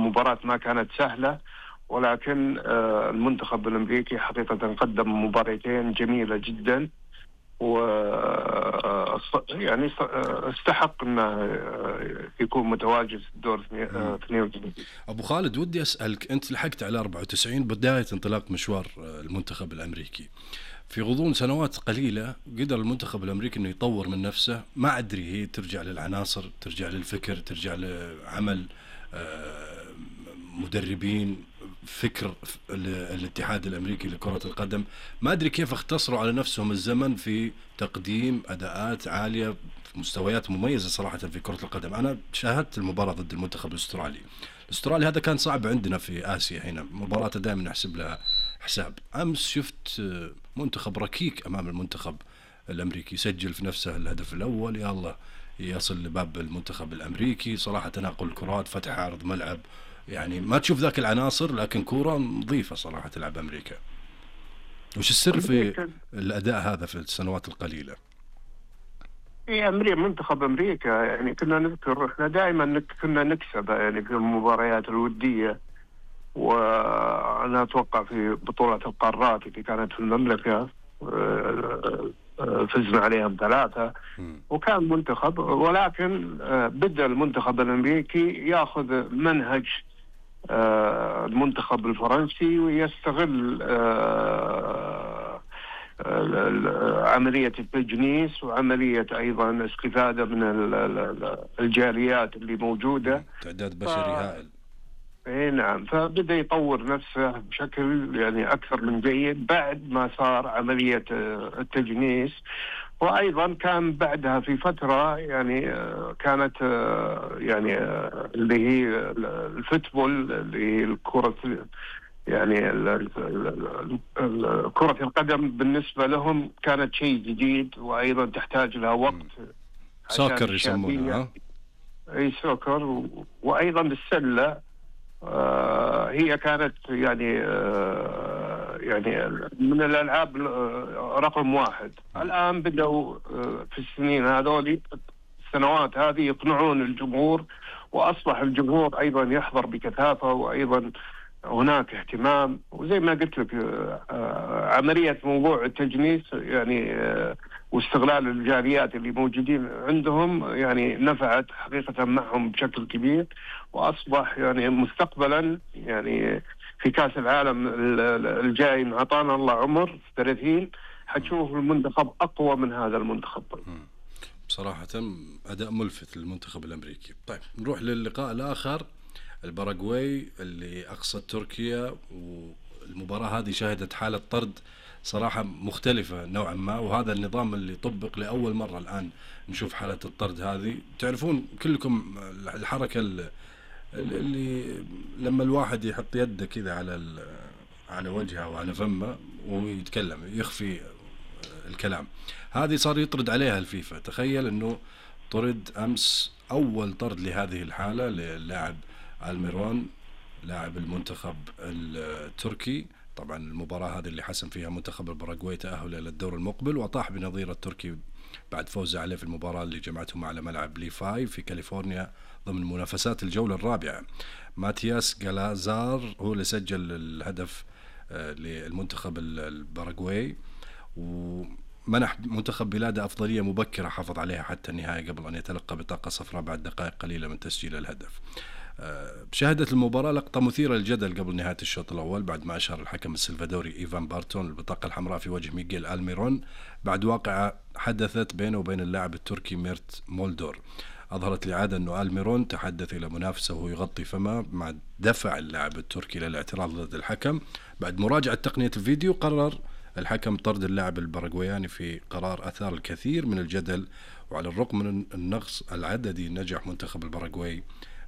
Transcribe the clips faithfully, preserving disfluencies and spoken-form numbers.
المباراة ما كانت سهلة، ولكن المنتخب الأمريكي حقيقة قدم مباراتين جميلة جدا، و يعني استحق انه يكون متواجد في الدور اثنين وثلاثين. ابو خالد، ودي اسالك، انت لحقت على أربعة وتسعين بدايه انطلاق مشوار المنتخب الامريكي. في غضون سنوات قليله قدر المنتخب الامريكي انه يطور من نفسه. ما ادري هي ترجع للعناصر، ترجع للفكر، ترجع لعمل مدربين، فكر الاتحاد الامريكي لكرة القدم. ما ادري كيف اختصروا على نفسهم الزمن في تقديم اداءات عالية في مستويات مميزة صراحة في كرة القدم. انا شاهدت المباراة ضد المنتخب الاسترالي. الاسترالي هذا كان صعب عندنا في اسيا، هنا مباراة دائما نحسب لها حساب. امس شفت منتخب ركيك امام المنتخب الامريكي، يسجل في نفسه الهدف الاول، يا الله يصل لباب المنتخب الامريكي. صراحة تناقل الكرات، فتح عرض ملعب، يعني ما تشوف ذاك العناصر، لكن كورة نظيفة صراحة تلعب أمريكا. وش السر في الأداء هذا في السنوات القليلة؟ إيه، أمريكا منتخب أمريكا يعني كنا نذكر إحنا دائما كنا نكسب يعني في المباريات الودية، وأنا أتوقع في بطولة القارات اللي كانت في المملكة فزنا عليهم ثلاثة، وكان منتخب. ولكن بدأ المنتخب الأمريكي يأخذ منهج المنتخب الفرنسي، ويستغل عملية التجنيس وعملية أيضا استفادة من الجاليات اللي موجودة، تعداد بشري هائل. اي نعم، فبدأ يطور نفسه بشكل يعني أكثر من جيد بعد ما صار عملية التجنيس. وأيضا كان بعدها في فترة يعني كانت يعني اللي هي الفوتبول، اللي هي الكرة يعني كرة القدم بالنسبة لهم كانت شيء جديد، وأيضا تحتاج لها وقت. سوكر يسمونها. أي سوكر. وأيضا السلة آه هي كانت يعني آه يعني من الألعاب رقم واحد. الآن بدأوا آه في السنين هذولي السنوات هذه يقنعون الجمهور، وأصبح الجمهور أيضا يحضر بكثافة، وأيضا هناك اهتمام. وزي ما قلت لك آه عملية موضوع التجنيس يعني آه واستغلال الجاليات اللي موجودين عندهم يعني نفعت حقيقة معهم بشكل كبير. وأصبح يعني مستقبلا يعني في كأس العالم الجاي إن أعطانا الله عمر ثلاثين حتشوف المنتخب أقوى من هذا المنتخب. بصراحة أداء ملفت للمنتخب الأمريكي. طيب نروح للقاء الآخر، الباراغواي اللي أقصت تركيا. والمباراة هذه شهدت حالة طرد صراحة مختلفة نوعا ما، وهذا النظام اللي طبق لأول مرة الآن نشوف حالة الطرد هذه. تعرفون كلكم الحركة اللي لما الواحد يحط يده كذا على على وجهه وعلى فمه ويتكلم يخفي الكلام، هذه صار يطرد عليها الفيفا. تخيل انه طرد امس اول طرد لهذه الحالة للاعب الميرون لاعب المنتخب التركي. طبعا المباراة هذه اللي حسم فيها منتخب الباراغواي تأهل إلى الدور المقبل، وطاح بنظير التركي بعد فوزه عليه في المباراة اللي جمعتهم على ملعب لي فاي في كاليفورنيا ضمن منافسات الجولة الرابعة. ماتياس غالازار هو اللي سجل الهدف للمنتخب الباراغواي، ومنح منتخب بلاده أفضلية مبكرة حافظ عليها حتى النهاية قبل أن يتلقى بطاقة صفراء بعد دقائق قليلة من تسجيل الهدف. شهدت المباراة لقطة مثيرة للجدل قبل نهاية الشوط الأول بعد ما أشار الحكم السلفادوري إيفان بارتون البطاقة الحمراء في وجه ميغيل ألميرون بعد واقعة حدثت بينه وبين اللاعب التركي ميرت مولدور. أظهرت الإعادة أنه ألميرون تحدث إلى منافسه وهو يغطي فمه، مع دفع اللاعب التركي للاعتراض ضد الحكم. بعد مراجعة تقنية الفيديو قرر الحكم طرد اللاعب الباراغواياني في قرار أثار الكثير من الجدل. وعلى الرغم من النقص العددي نجح منتخب الباراغواي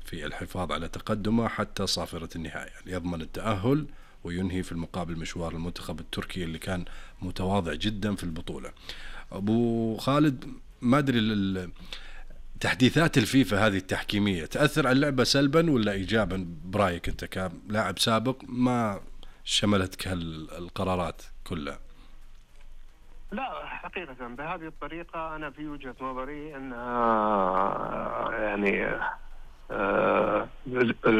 في الحفاظ على تقدمه حتى صافرة النهاية ليضمن التأهل وينهي في المقابل مشوار المنتخب التركي اللي كان متواضع جدا في البطولة. أبو خالد، ما أدري تحديثات الفيفا هذه التحكيمية تأثر على اللعبة سلبا ولا إيجابا برأيك أنت كلاعب سابق ما شملتك هالقرارات كلها؟ لا حقيقة بهذه الطريقة أنا في وجهة نظري أنها يعني آه